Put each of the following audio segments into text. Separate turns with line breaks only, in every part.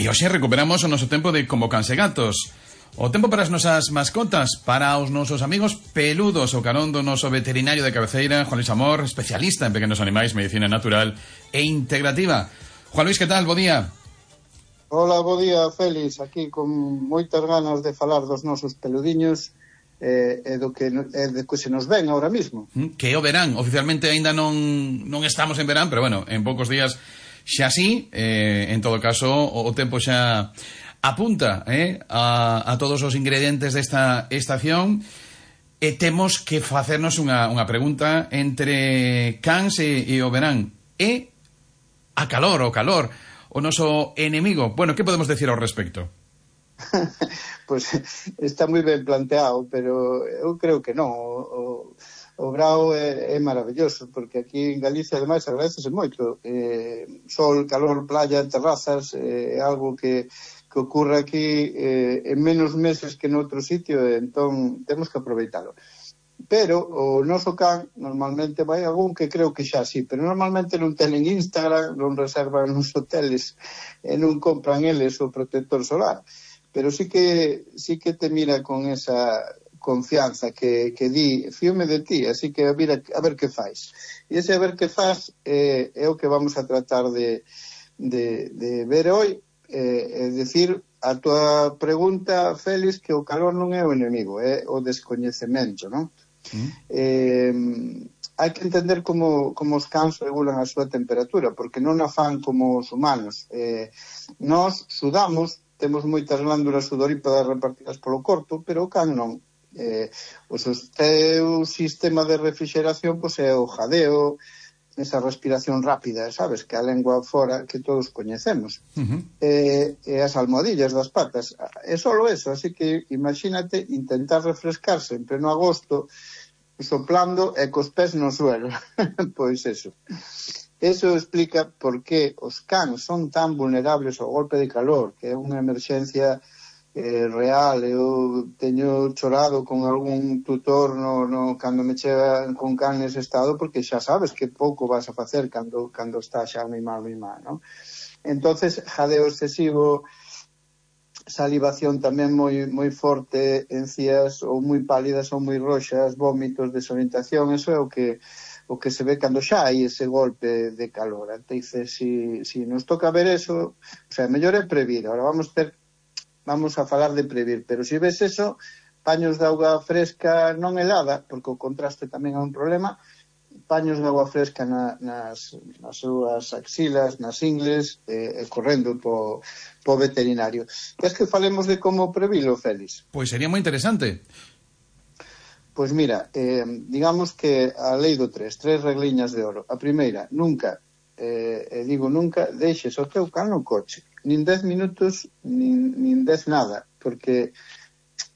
E hoxe recuperamos o noso tempo de Como Cans e Gatos. O tempo para as nosas mascotas, para os nosos amigos peludos, o carón do noso veterinario de cabeceira, Juan Luis Amor, especialista en pequenos animais, medicina natural e integrativa. Juan Luis, que tal? Bo día.
Hola, bo día, Félix. Aquí con moitas ganas de falar dos nosos peludiños e do que se nos ven ahora mismo.
Que o verán, oficialmente aínda non estamos en verán, pero bueno, en poucos días xa sí, en todo caso o tempo xa apunta a todos os ingredientes desta estación e temos que facernos unha pregunta entre cans e o verán e a calor, o noso enemigo. Bueno, que podemos decir ao respecto?
Pois está moi ben planteado, pero eu creo que non. O brao é maravilloso, porque aquí en Galicia ademais agradecese moito. Sol, calor, playa, terrazas, é algo que ocorre aquí en menos meses que noutro sitio, entón temos que aproveitalo. Pero o noso can normalmente vai algún que creo que xa sí, pero normalmente non tenen Instagram, non reservan nos hoteles e non compran eles o protector solar, pero sí que te mira con esa confianza que di, fíome de ti, así que a ver que faz. E ese a ver que faz é o que vamos a tratar de ver hoy, é dicir, a tua pregunta, Félix, que o calor non é o enemigo, é o descoñecemento, non? Hai que entender como os cans regulan a súa temperatura, porque non a fan como os humanos. Nós sudamos, temos moitas glándulas sudorípadas repartidas polo corpo, pero o can non. O seu sistema de refrigeración pois é o jadeo, esa respiración rápida, sabes, que a lengua fora que todos coñecemos, e as almohadillas das patas, é solo eso. Así que imagínate intentar refrescarse en pleno agosto soplando e cos pés no suelo. Pois eso explica por que os cans son tan vulnerables ao golpe de calor, que é unha emerxencia real. Eu teño chorado con algún tutor cando me chega con can nese estado, porque xa sabes que pouco vas a facer cando está xa moi mal, non? Entonces, jadeo excesivo, salivación tamén moi forte, encías ou moi pálidas ou moi roxas, vómitos, desorientación, eso é o que se ve cando xa hai ese golpe de calor. Entonces, si nos toca ver eso, o sea, mellor é previr. Ahora vamos a falar de previr, pero se ves eso, paños de auga fresca non helada, porque o contraste tamén é un problema, paños de auga fresca nas súas axilas, nas ingles, correndo po veterinario. Queres que falemos de como previlo, Félix?
Pois sería moi interesante.
Pois mira, digamos que a lei do 3 regliñas de oro. A primeira, nunca, digo nunca, deixes o teu can no coche, nin 10 minutos, nin 10 nada, porque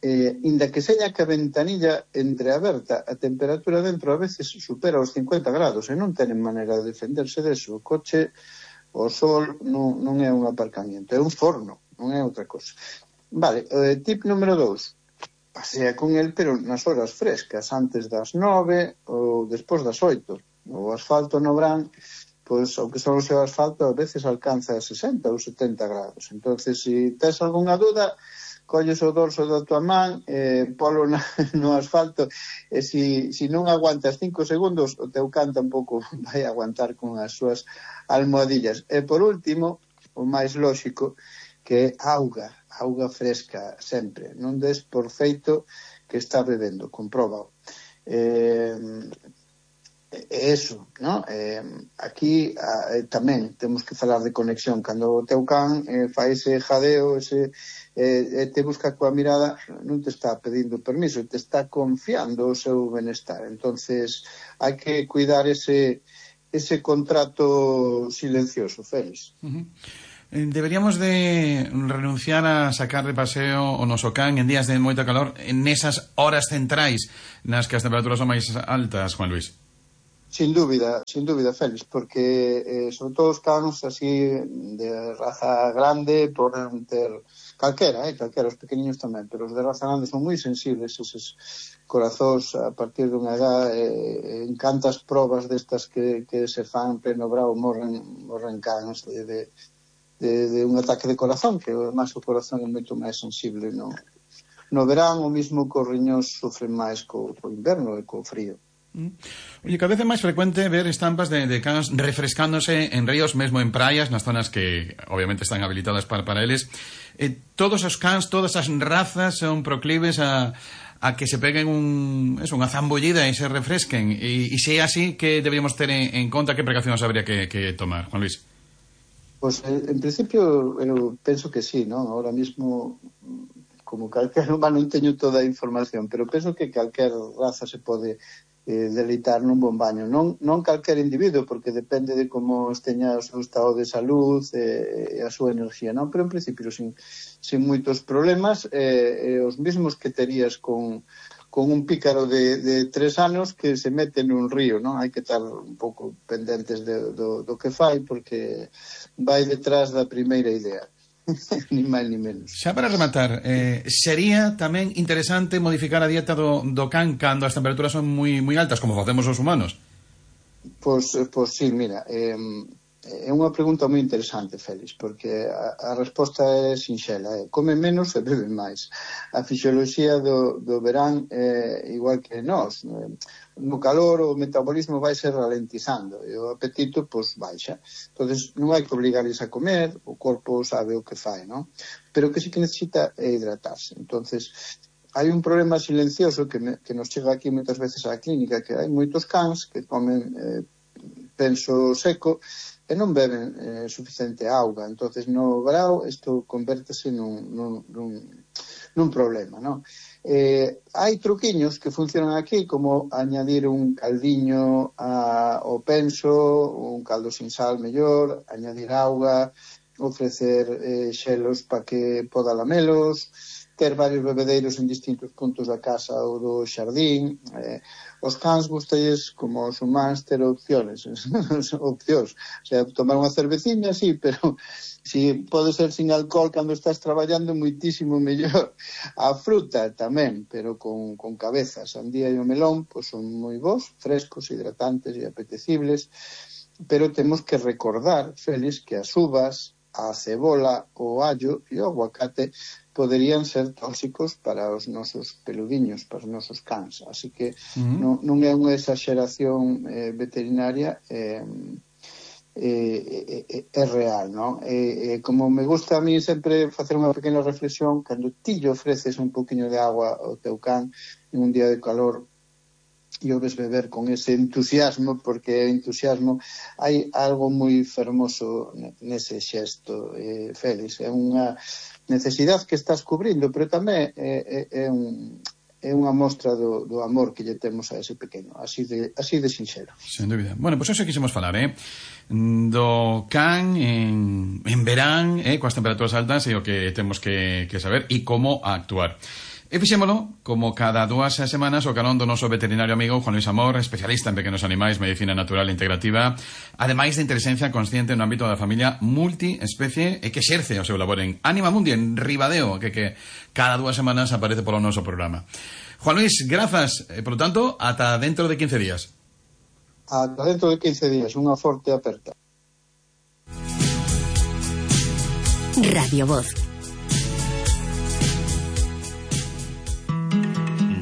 inda que seña que a ventanilla entreaberta, a temperatura dentro a veces supera os 50 grados e non tenen maneira de defenderse deso. O coche, o sol, non é un aparcamiento, é un forno, non é outra cosa. Vale, tip número 2, pasea con el, pero nas horas frescas, antes das 9 ou despois das 8. O asfalto no verán, pois, ao que son o seu asfalto, a veces alcanza 60 ou 70 grados. Entonces, se tes algunha dúda, colles o dorso da tua man, polo no asfalto, e se non aguantas 5 segundos, o teu can tampouco vai aguantar con as súas almohadillas. E por último, o máis lóxico, que é auga fresca sempre. Non des por feito que está bebendo, compróbao. Eso, ¿no? Aquí tamén temos que falar de conexión. Cando o teu can fai ese jadeo, te busca coa mirada, non te está pedindo permiso, te está confiando o seu benestar. Entonces hai que cuidar ese contrato silencioso, Félix.
Deberíamos de renunciar a sacar de paseo o noso can en días de moita calor, en esas horas centrais nas que as temperaturas son máis altas, Juan Luis.
Sin dúbida, Félix, porque sobre todo os cans así de raza grande poden ter calquera, os pequeniños tamén, pero os de raza grande son moi sensibles, eses corazóns a partir dunha edad, en cantas probas destas que se fan pleno brao morren cans un ataque de corazón, que además o corazón é moito máis sensible no verán, o mismo que os riñóns sofren máis co inverno e co frío.
Oye, cada vez é máis frecuente ver estampas de cans refrescándose en ríos, mesmo en praias, nas zonas que obviamente están habilitadas para eles. Todos os cans, todas as razas son proclives a que se peguen unha zambullida e se refresquen, e se é así, que deberíamos ter en conta, que precaucións habría que tomar, Juan Luis?
Pois, en principio, eu penso que sí, non? Ahora mismo, como calquer humano, non teño toda a información, pero penso que calquer raza se pode deleitar nun bon baño. Non calquer individuo, porque depende de como esteña o seu estado de salud e a súa enerxía, non? Pero, en principio, sin moitos problemas, os mesmos que terías con un pícaro de 3 anos que se mete nun río, non? Hai que estar un pouco pendentes do que fai, porque vai detrás da primeira idea. Ni máis ni menos.
Xa para rematar, sería tamén interesante modificar a dieta do can cando as temperaturas son moi altas, como facemos os humanos?
Pois sí, mira, é unha pregunta moi interesante, Félix, porque a resposta é sinxela, come menos e bebe máis. A fisioloxía do verán é igual que nós. No calor o metabolismo vai se ralentizando e o apetito baixa. Entonces non hai que obligarles a comer, o corpo sabe o que fai, non? Pero que sí que necesita é hidratarse. Entonces hai un problema silencioso que nos chega aquí moitas veces á clínica, que hai moitos cans que comen penso seco e non beben suficiente auga. Entonces no verao isto convértese nun problema, non? Hai truquiños que funcionan aquí, como añadir un caldiño ao penso, un caldo sin sal mellor, añadir auga, ofrecer xelos para que poda lamelos, ter varios bebedeiros en distintos puntos da casa ou do xardín. Os cans gustalles, como os humanos, ter opcións. O sea, tomar unha cerveciña, sí, pero si pode ser sin alcohol cando estás traballando, moitísimo mellor. A fruta tamén, pero con cabeza. A sandía e o melón son moi bons, frescos, hidratantes e apetecibles, pero temos que recordar, Félix, que as uvas, a cebola, o allo e o aguacate poderían ser tóxicos para os nosos peludiños, para os nosos cans. Así que non é unha exageración veterinaria, é real, non? Como me gusta a mí sempre facer unha pequena reflexión, cando ti lle ofreces un poquinho de agua ao teu can en un día de calor e o ves beber con ese entusiasmo, porque entusiasmo, hai algo moi fermoso nese xesto, Félix. É unha necesidade que estás cubrindo, pero tamén é unha mostra do amor que lle temos a ese pequeno, así de sinxelo.
Sen dúbida. Bueno, pois eso quixemos falar, do can en verán, coas temperaturas altas, e o que temos que saber e como actuar. E fixémolo, como cada 2 semanas, o carón do noso veterinario amigo Juan Luis Amor, especialista en pequenos animais, medicina natural e integrativa, ademais de inteligencia consciente no ámbito da familia multiespecie, e que exerce o seu labor en Anima Mundi, en Ribadeo, que cada 2 semanas aparece polo noso programa. Juan Luis, grazas, por lo tanto, ata dentro de 15 días.
Ata dentro de 15 días, unha forte aperta.
Radio Voz.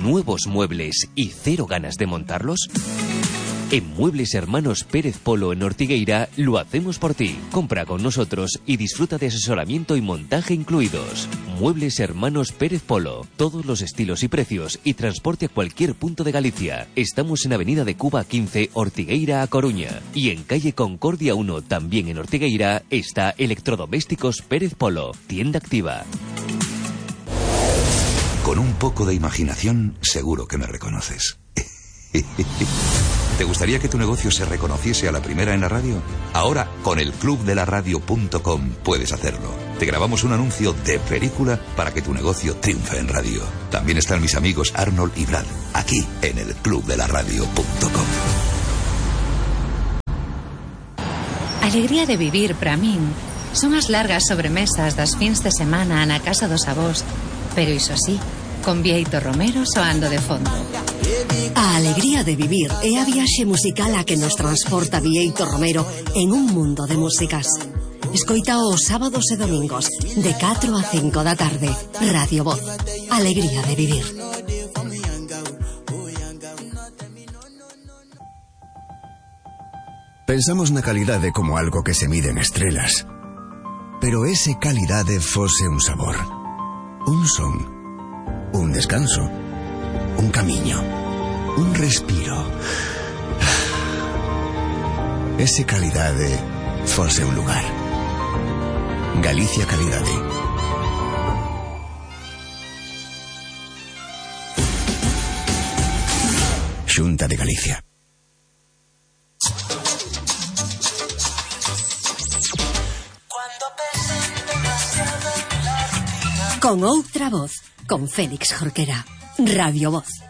¿Nuevos muebles y cero ganas de montarlos? En Muebles Hermanos Pérez Polo en Ortigueira lo hacemos por ti. Compra con nosotros y disfruta de asesoramiento y montaje incluidos. Muebles Hermanos Pérez Polo. Todos los estilos y precios y transporte a cualquier punto de Galicia. Estamos en Avenida de Cuba 15, Ortigueira a Coruña. Y en calle Concordia 1, también en Ortigueira, está Electrodomésticos Pérez Polo. Tienda activa.
Con un poco de imaginación, seguro que me reconoces. ¿Te gustaría que tu negocio se reconociese a la primera en la radio? Ahora, con el clubdelaradio.com puedes hacerlo. Te grabamos un anuncio de película para que tu negocio triunfe en radio. También están mis amigos Arnold y Brad, aquí en el clubdelaradio.com.
Alegría de vivir para min son as largas sobremesas das fins de semana na casa dos avós, pero iso sí, con Bieito Romero soando de fondo.
A alegría de vivir é a viaxe musical a que nos transporta Bieito Romero en un mundo de músicas.
Escoita os sábados e domingos de 4 a 5 da tarde. Radio Voz. Alegría de vivir.
Pensamos na calidade como algo que se mide en estrelas. Pero ese calidade fose un sabor, un son, un descanso, un camiño, un respiro. Ese calidade fose un lugar. Galicia Calidade. Xunta de Galicia.
Con outra voz, con Félix Jorquera. Radio Voz.